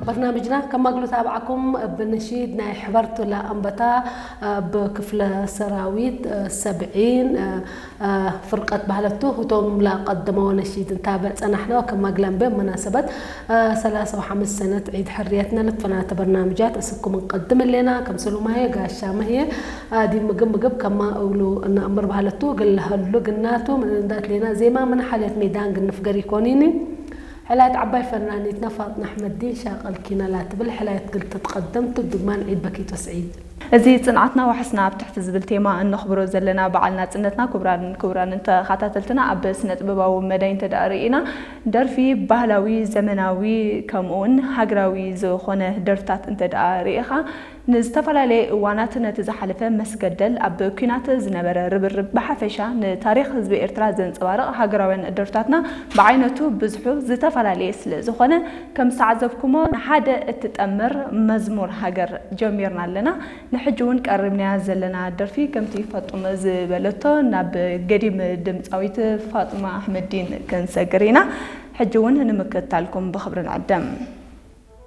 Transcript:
በርናምጅና ከማግሉት ኣብዓኩም ብንሺድ ናይ ሕበርቱ ላኣንበታ ብክፍለ ሰራዊት ሰብዒን ፍርቀት ባህለቱ ህቶም ላቀደመ ወነሺድ እንታበ ጸናሕነዋ ከማግላን በ መናሰበት ሰላሳ ወሓምስ ሰነት ዒድ ሕርየትና ልትፈናተ በርናምጃት እስኩም እንቀድም ሌና ከም ሰሉማየ ጋሻ መህየ ኣዲ ምግብ ምግብ ከማ እብሉ እናእምር ባህለቱ ግልሀሉ ግናቱ ምንዳት ሌና ዜማ ምን ሓልየት ሜዳን ግንፍገር ይኮኒኒ። ሕላየት ዓባይ ፈናኒትና ፋጥና ኣሕመዲን ሻቀል ኪናላ ትብል ሕላየት ግልተ ትቐደም ትብ ድግማን ዒድ በኪቶ ስዒድ። እዚ ጽንዓትና ዋሕስና ኣብ ትሕቲ ዝብል ቴማ እነኽብሮ ዘለና በዓል ናጽነትና። ክቡራን ክቡራን ተኸታተልትና፣ ኣብ ስነ ጥበባዊ መዳይ እንተ ደኣ ርኢና፣ ደርፊ ባህላዊ፣ ዘመናዊ፣ ከምኡውን ሃገራዊ ዝኾነ ደርፍታት እንተ ደኣ ርኢኻ፣ ንዝተፈላለየ እዋናት ነቲ ዝሓለፈ መስገደል፣ ኣብ ኲናት ዝነበረ ርብርብ፣ ብሓፈሻ ንታሪኽ ህዝቢ ኤርትራ ዘንጸባርቕ ሃገራውያን ደርፍታትና ብዓይነቱ ብዝሑ ዝተፈላለየ ስለ ዝኾነ፣ ከም ዝተዓዘብኩሞ ንሓደ እትጠምር መዝሙር ሃገር ጀሚርና ኣለና። ንሕጂ እውን ቀሪብናያ ዘለና ደርፊ ከምቲ ፋጡም ዝበለቶ ናብ ገዲም ድምጻዊት ፋጡማ ኣሕመዲን ክንሰግር ኢና። ሕጂ እውን ንምክትታልኩም ብኽብሪ ንዕደም።